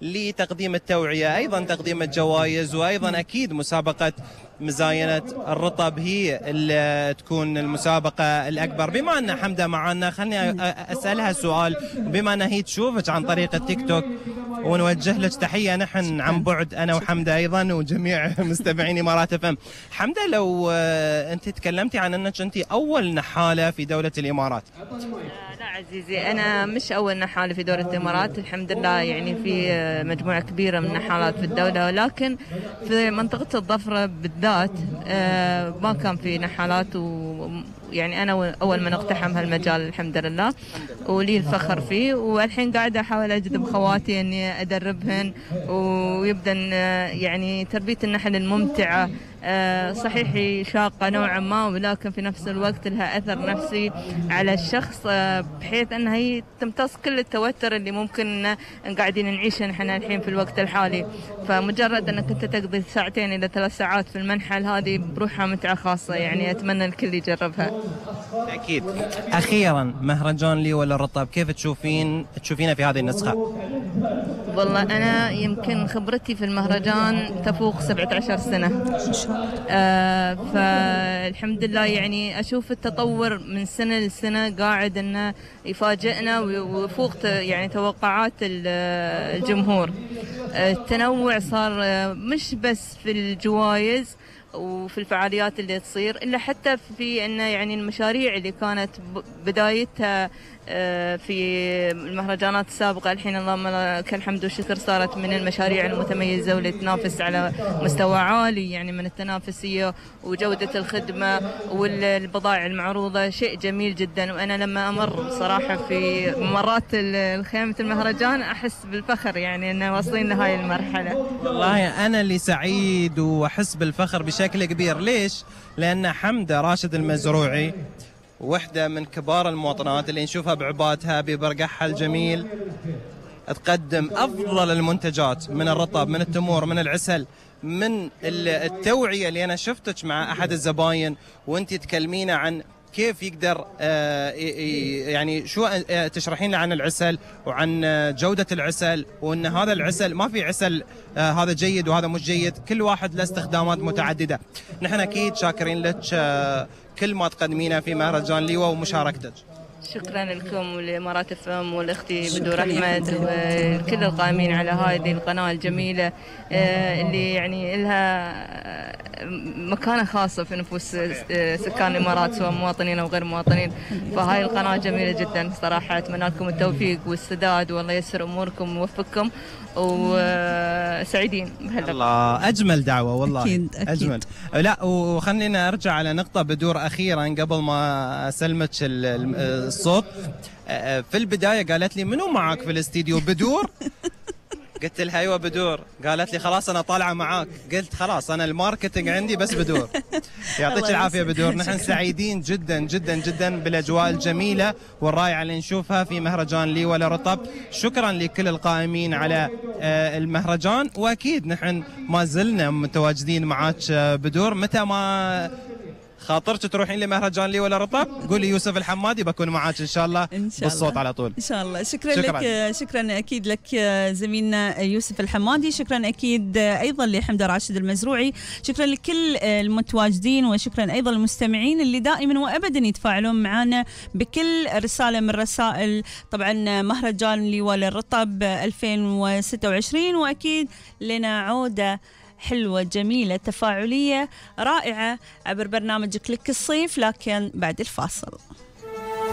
لتقديم التوعية، أيضا تقديم الجوائز، وأيضا أكيد مسابقة مزاينة الرطب هي اللي تكون المسابقة الأكبر. بما أن حمدة معنا خلني أسألها سؤال، بما أن هي تشوفك عن طريق التيك توك ونوجه لك تحية نحن عن بعد أنا وحمدة أيضا وجميع مستمعين إمارات اف ام. حمدة، لو أنت تكلمتي عن أنك أنت أول نحالة في دولة الإمارات. لا عزيزي، أنا مش أول نحالة في دولة الإمارات، الحمد لله يعني في مجموعة كبيرة من النحالات في الدولة، ولكن في منطقة الظفرة بالذات ما كان في نحالات، يعني أنا أول من اقتحم هالمجال الحمد لله، ولي الفخر فيه. والحين قاعدة أحاول أجذب خواتي إني أدربهن، ويبدأ يعني تربية النحل الممتعة صحيح شاقة نوعا ما، ولكن في نفس الوقت لها أثر نفسي على الشخص، بحيث أنها هي تمتص كل التوتر اللي ممكن قاعدين نعيشه نحن الحين في الوقت الحالي. فمجرد أنك أنت تقضي 2 إلى 3 ساعات في المنحل هذه بروحها متعة خاصة، يعني أتمنى الكل يجربها. أكيد. أخيرا، مهرجان لي ولا الرطب كيف تشوفينه في هذه النسخة؟ والله أنا يمكن خبرتي في المهرجان تفوق 17 سنة، فالحمد لله يعني أشوف التطور من سنة لسنة قاعد أنه يفاجئنا ويفوق يعني توقعات الجمهور. التنوع صار مش بس في الجوائز وفي الفعاليات اللي تصير، إلا حتى في أن يعني المشاريع اللي كانت بدايتها في المهرجانات السابقة، الحين اللهم لك الحمد والشكر صارت من المشاريع المتميزة واللي تنافس على مستوى عالي يعني من التنافسية وجودة الخدمة والبضائع المعروضة، شيء جميل جدا. وأنا لما أمر صراحة في ممرات الخيمة المهرجان أحس بالفخر يعني أن واصلين لهاي المرحلة. والله أنا اللي سعيد وأحس بالفخر بشكل كبير. ليش؟ لأن حمدة راشد المزروعي وحدة من كبار المواطنات اللي نشوفها بعباتها ببرقعها الجميل تقدم أفضل المنتجات من الرطب، من التمور، من العسل، من التوعية اللي أنا شفتك مع أحد الزباين وأنت تكلمينا عن كيف يقدر يعني شو تشرحين له عن العسل وعن جودة العسل، وأن هذا العسل ما في عسل هذا جيد وهذا مش جيد، كل واحد له استخدامات متعددة. نحن أكيد شاكرين لك كل ما تقدمينه في مهرجان ليوة ومشاركتك. شكرا لكم ولإمارات اف ام والأختي بدور أحمد وكل القائمين على هذه القناة الجميلة اللي يعني لها مكانة خاصة في نفوس سكان الإمارات سواء مواطنين أو غير مواطنين. فهاي القناة جميلة جدا صراحة، أتمنى لكم التوفيق والسداد والله ييسر أموركم ويوفقكم وسعيدين بهاللقاء. الله، أجمل دعوة والله. أكيد. أجمل. لا، وخلينا أرجع على نقطة بدور أخيرا قبل ما أسلمك الصوت. في البداية قالت لي منو معك في الاستديو؟ بدور؟ قلت لها ايوه بدور. قالت لي خلاص انا طالعه معاك. قلت خلاص انا الماركتينج عندي بس بدور. يعطيك العافيه بدور. نحن سعيدين جدا جدا جدا بالاجواء الجميله والرائعه اللي نشوفها في مهرجان لي ولا رطب. شكرا لكل القائمين على المهرجان، واكيد نحن ما زلنا متواجدين معاك بدور. متى ما خاطرت تروحين لمهرجان لي ولا رطب قولي يوسف الحمادي بكون معاك ان شاء الله بالصوت على طول. ان شاء الله. شكرا لك، شكرا اكيد لك زميلنا يوسف الحمادي، شكرا اكيد ايضا لحمدة راشد المزروعي، شكرا لكل المتواجدين، وشكرا ايضا للمستمعين اللي دائما وابدا يتفاعلون معنا بكل رساله من رسائل طبعا مهرجان لي ولا رطب 2026. واكيد لنا عوده حلوة جميلة تفاعلية رائعة عبر برنامج كليك الصيف، لكن بعد الفاصل.